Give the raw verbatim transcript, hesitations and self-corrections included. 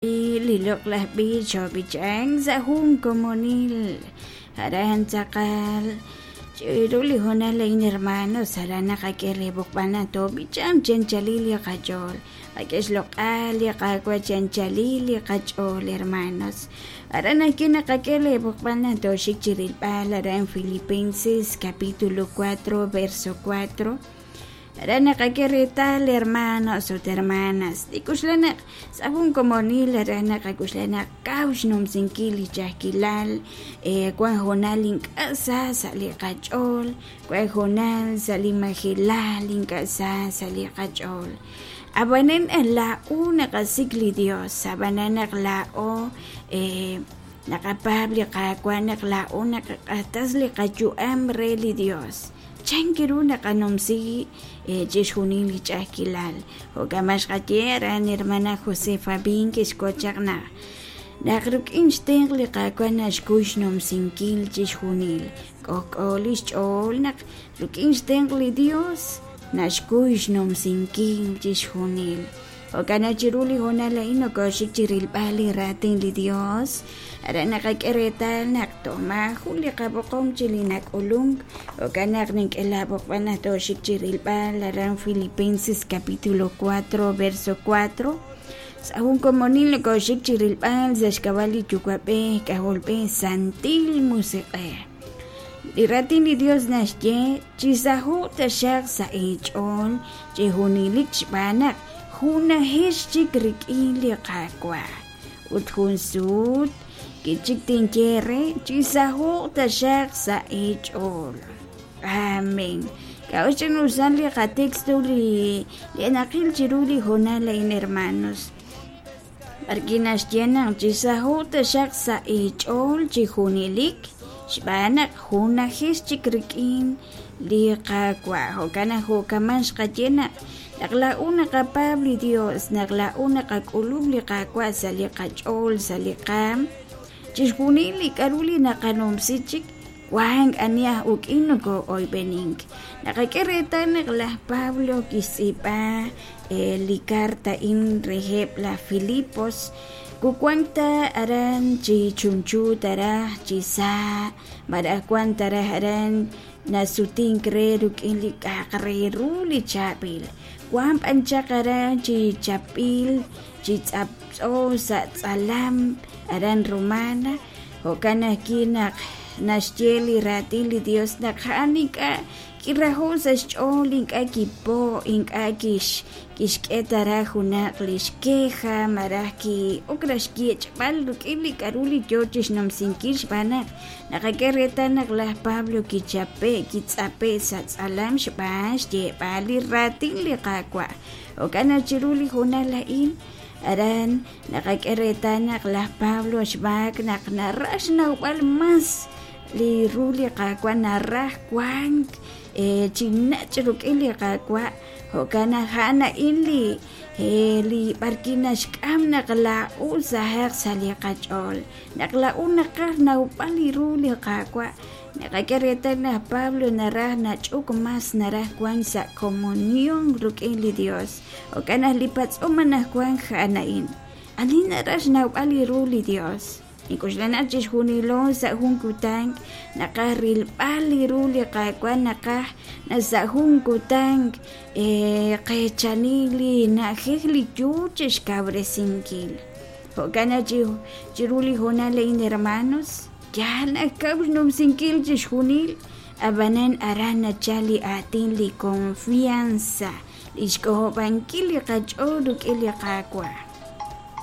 Li loq'laj b'ich xoob'ichank sa' jun komonil aran tz'aqal chiru li hoonal a'in hermanos aran naqak'e reb'oqb'al naq toob'ichanq chi anchalil li qach'ool qak'e xloq'al li Qaawa' chi anchalil li qach'ool hermanos aran ajwi' naqak'e reb'oqb'al naq tooxik chi rilb'al aran Filipenses capítulo cuatro verso cuatro aran naqak'e reetal hermanos ut hermanas li k'uxla naq sa' jun komonil aran naqak'uxla naq kaw xnumsinkil li ch'a'ajkilal wan hoonal ink'a' sa sa' li qach'ool wan hoonal sa' li majelal ink'a' sa sa' li qach'ool ab'anan laa'o naqasik' li Dios ab'anan naq laa'o naqapaab' li Qaawa' naq laa'o naqaq'axtes li qayu'am re li Dios chan ru naqanumsi chixjunil li ch'a'ajkilal jo'kan b'an xqaye aran hermana Josefa Bin kixwotz chaq naq naq rik'in xtenq' li Qaawa' naxkuy xnumsinkil chixjunil k'ojk'o li xch'ool naq rik'in xtenq' li Dios naxkuy xnumsinkil chixjunil jo'kan naq chiru li hoonal a'in nokooxik chi rilb'al li raatin li Dios aran naqak'e reetal naq toj maajun li qab'oqom chi li nak'ulunk jo'kan naq nink'e laab'oqb'al naq tooxik chi rilb'al aran Filipenses capítulo cuatro verso cuatro sa' jun komonil nokooxik chi rilb'al sa' xk'ab'a' li Yuwa'b'ej K'ajolb'ej Santil Musiq'ej li raatin li Dios naxye chisaho'q taxaq sa' eech'ool chi junelik xb'aan naq junajex chik rik'in li Qaawa' ut jun sut kichik tinye re chisaho'q taxaq sa' eech'ool amén k'a'ut xch'in'usal li qatexto li li naqil chiru li hoonal a'in hermanos b'arwi' naxye naq chisaho'q taxaq sa' eech'ool chi junelik xb'aan naq junajex chik rik'in li Qaawa' jo'kan naq jo'kaman xqaye naq naq laa'o naqapaab' li Dios naq laa'o naqak'ulub' li Qaawa' sa' li qach'ool sa' li qaam chixjunil li k'a'ru li naqanumsi chik wank ani aj uk'in nokoo'oyb'enink naqak'e reetal naq laj Pablo kixtz'iib'a li carta a'in reheb' laj Filipos kuwank ta aran chi chunchu taraj chi sa malaj wank taraj aran nasutink re rik'in li k'a'aq re ru li chaab'il wank b'an chaq aran chi chapb'il chi tz'aptz'o sa' tz'alam aran Romana jo'kan ajwi' naq naxye li raatin li Dios naq a'an ink'a' kiraho' sa' xch'ool ink'a' kipo' ink'a' kix kixk'e taraj junaq li xqueja malaj ki'ok raj xyech'b'al rik'in li k'a'ru li yoo chixnumsinkil xb'aan naq naqak'e reetal naq laj Pablo kichape' kitz'ape' sa' tz'alam xb'aan xyeeb'al li raatin li Qaawa' jo'kan naq chiru li hoonal a'in aran naqak'e reetal naq laj Pablo xb'aak naq naraj xnawb'al mas li ru li Qaawa' naraj wank chi nach' rik'in li Qaawa' jo'kan naq a'an a'in li li b'arwi' naxk'am naq laa'o sahaq sa' li qach'ool naq laa'o naqaj nawb'al li ru li Qaawa' naqak'e reetal naq Pablo naraj nach'uk mas naraj wank sa' comunión rik'in li Dios jo'kan naq li patz'om anaqwan a'an a'in ani naraj xnawb'al li ru li Dios ink'uxla naq chixjunilo sa' jun kutan naqaj rilb'al li ru li Qaawa' naqaj naq sa' jun kutan qeechani li na'ajej li yoo chixkawresinkil jo'kan naq chiru li hoonal a'in hermanos yaal naq kaw xnumsinkil chixjunil ab'anan aran nachal li aatin li confianza li xk'ojob'ankil li qach'ool rik'in li Qaawa'